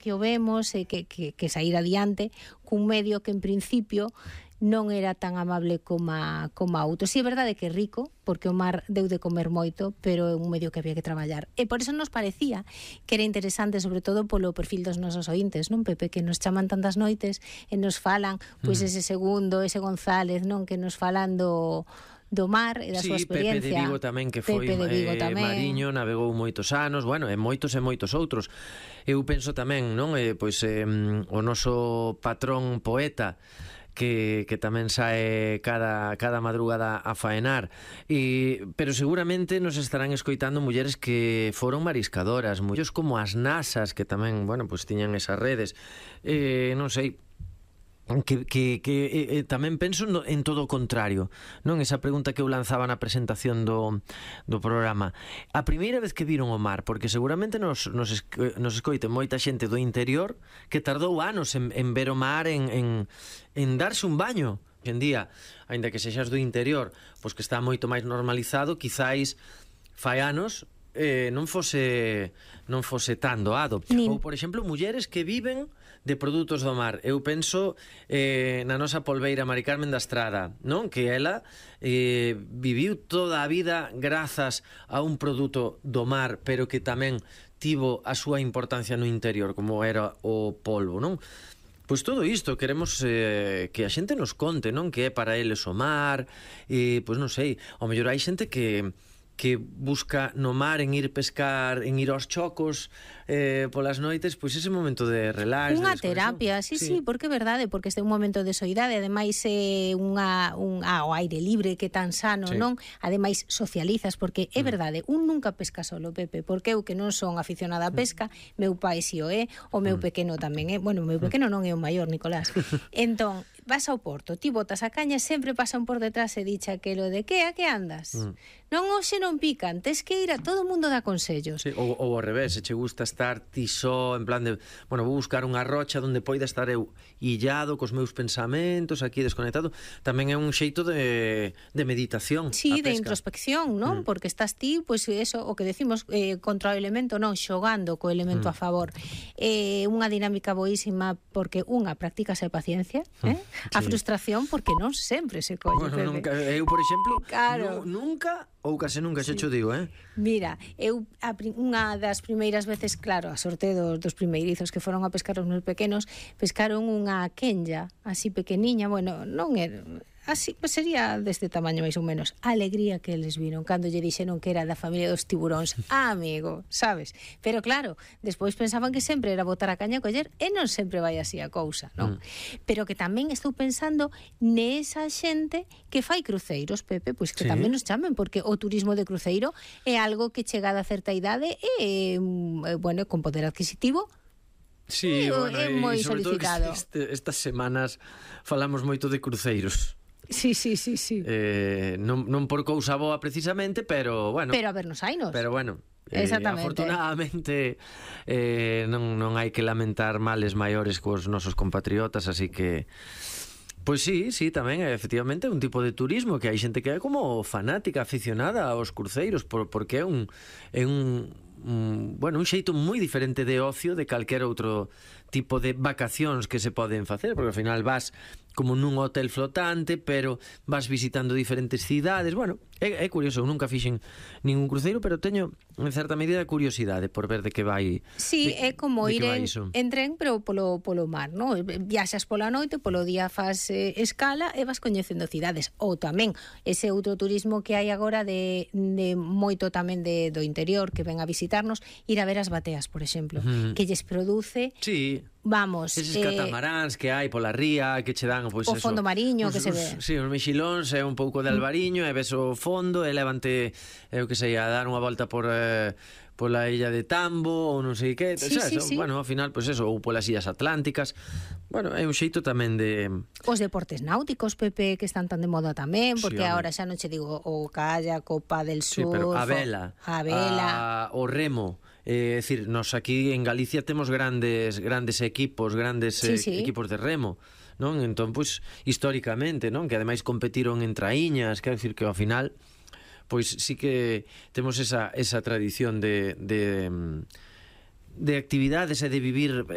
que o vemos e que sair adiante cun medio que en principio non era tan amable como outro. Si é verdade que é rico, porque o mar deu de comer moito, pero é un medio que había que traballar. E por eso nos parecía que era interesante, sobre todo polo perfil dos nosos ointes, non, Pepe, que nos chaman tantas noites e nos falan, pois ese Segundo, ese González, non, que nos falan do mar e da súa experiencia. Pepe de Vigo tamén, que foi mariño, navegou moitos anos, bueno, e moitos outros. Eu penso tamén, non, pois o noso patrón poeta, que tamén sae cada madrugada a faenar, pero seguramente nos estarán escoitando mulleres que foron mariscadoras, mulleres como as nasas, que tamén, bueno, pues tiñan esas redes, non sei, que tamén penso en todo o contrario, non? Esa pregunta que eu lanzaba na presentación do programa, a primeira vez que viron o mar, porque seguramente nos escoite moita xente do interior que tardou anos en ver o mar, en darse un baño. Hoxe en día, aínda que sexas do interior, pois que está moito máis normalizado, quizáis fai anos non fose tan doado. Ou, por exemplo, mulleres que viven de produtos do mar. Eu penso na nosa polbeira Mari Carmen da Estrada, non? Que ela viviu toda a vida grazas a un produto do mar, pero que tamén tivo a súa importancia no interior, como era o polvo, non? Pois todo isto queremos que a xente nos conte, non? Que é para eles o mar, pois non sei, ao mellor hai xente que busca no mar, en ir pescar, en ir aos chocos polas noites, pois ese momento de relax, unha terapia, sí, porque é verdade, porque este é un momento de soidade, ademais é o aire libre que é tan sano, non? Ademais socializas, porque é verdade, un nunca pesca solo, Pepe, porque eu que non son aficionada á pesca, meu pai si o é, o meu pequeno tamén é, bueno, o meu pequeno non é o maior, Nicolás. Entón, vas ao porto, ti botas a caña, sempre pasan por detrás e dicha aquelo de que a que andas? Non, hoxe non pican, tes que ir a todo o mundo dá consellos. Sí, ou ao revés, se che gusta estar ti só, en plan de, bueno, vou buscar unha rocha onde poida estar eu illado cos meus pensamentos, aquí desconectado, tamén é un xeito de meditación. Sí, de introspección, non? Porque estás ti, pois eso, o que decimos, contra o elemento, non, xogando co elemento a favor. Unha dinámica boísima, porque unha, practícase a paciencia, a frustración, porque non sempre se colle. Bueno, nunca, eu, por exemplo, claro. Nunca ou case nunca, xa xo digo, Mira, eu unha das primeiras veces, claro, a sorte dos primeirizos que foron a pescar os meus pequenos, pescaron unha quenya, así pequeniña, bueno, non era así, pues sería deste tamaño máis ou menos. A alegría que eles viron cando lle dixeron que era da familia dos tiburóns. Amigo, sabes? Pero claro, despois pensaban que sempre era botar a caña a coller e non sempre vai así a cousa, non? Pero que tamén estou pensando nesa xente que fai cruceiros, Pepe, pois que tamén nos chamen, porque o turismo de cruceiro é algo que chegada a certa idade e, bueno, con poder adquisitivo, sí, bueno, é moi solicitado. Estas semanas falamos moito de cruceiros. Sí. Non por cousa boa precisamente, pero bueno. Pero a vernos hainos. Pero bueno, afortunadamente non hai que lamentar males maiores cos nosos compatriotas, así que pois sí, tamén efectivamente é un tipo de turismo que hai xente que é como fanática, aficionada aos cruceiros, porque é un xeito moi diferente de ocio de calquera outro tipo de vacacións que se poden facer, porque ao final vas como nun hotel flotante, pero vas visitando diferentes cidades. Bueno, é curioso, eu nunca fixen ningún cruceiro, pero teño en certa medida curiosidade por ver de que vai. Sí, é como ir en tren, pero polo mar, ¿no? Viaxas pola noite, polo día faz escala e vas coñecendo cidades. Ou tamén ese outro turismo que hai agora de moito tamén do interior que ven a visitarnos, ir a ver as bateas, por exemplo, que lles produce... Sí. Vamos, eses catamaráns que hai pola ría, que che dan, pois, o fondo mariño que se ve. Sí, os mexilóns e un pouco de albariño, e ves o fondo e levante, eu que sei, a dar unha volta pola illa de Tambo ou non sei que, sí. Bueno, ao final, pois eso, ou polas illas atlánticas. Bueno, é un xeito tamén de... Os deportes náuticos, Pepe, que están tan de moda tamén, porque agora xa non che digo o kayak, o pádel surf, pero a vela, o remo. É dicir, nos aquí en Galicia temos grandes equipos, equipos de remo, non? Entón, pois, históricamente, non? Que ademais competiron en traíñas, quero dicir que ao final, pois sí que temos esa tradición de actividades e de vivir